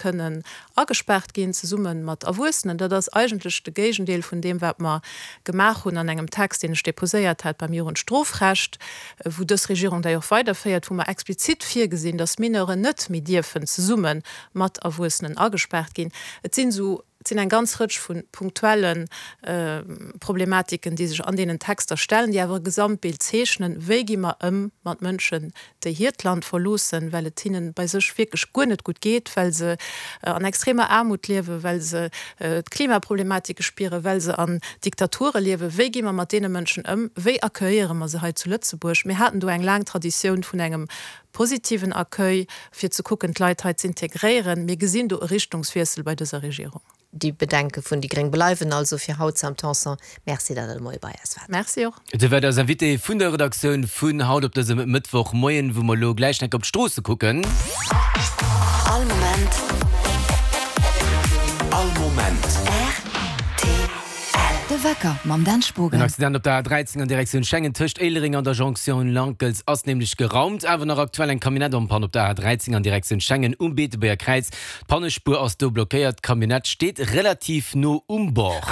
Kënnen agespaart ginn, zesumme mat Erwuessenen. Dat ass eigentlech de Géigendeel vun deem, wat mer gemaach hunn an engem Text, deen ech déposéiert hat beim Jugendstrofrecht, wou dës Regierung dat jo och weiderféiert, wou mer explizit virgesinn, dass Mineuren net méi dierfen zesumme mat Erwuessenen agespaart ginn. Et sinn esou, et sinn eng ganz Rëtsch vu punktuelle Problematiken, déi sech an deenen Texter stellen, déi awer e Gesamtbild zeechnen, Wéi gi mer ëm mat Mënschen, déi hiert Land verloossen, well et hinnen bei sech wierklech guer net gutt geet, well se an extremer Aarmut liewen, well se d'Klimaproblematike spieren, well se an Diktature liewen. Wéi gi mer mat deene Mënschen ëm? Wéi accueilliere mer se hei zu Lëtzebuerg? Mir haten do eng laang Traditioun vun engem positiven Accueil, fir ze kucken, d'Leit hei z'integréieren. Mir gesinn do e Richtungswiessel bei dëser Regierung. Déi Bedenke vun déi gréng bleiwen also fir haut. Sam Tanson, Merci, datt Der de Moie bei eis waart. Merci och. Dir waart eis Invitée vun der Redaktioun vun haut op dësem Mëttwochmoien, wou mer elo gläich enk op d'Stroosse kucken. All Moment. All Moment. Rtl. De Wecker mam Dan Spogen. En Accident op der A13 an Direktioun Schengen tëscht Éilereng an der Jonction Lankels ass nämlech geraumt. Awer nach aktuell eng Camionnette en panne op der A13 an Direktioun Schengen um Beetebuerger Kräiz. D'Pannespuer ass do blockéiert, d'Camionnette steet relativ no um Bord.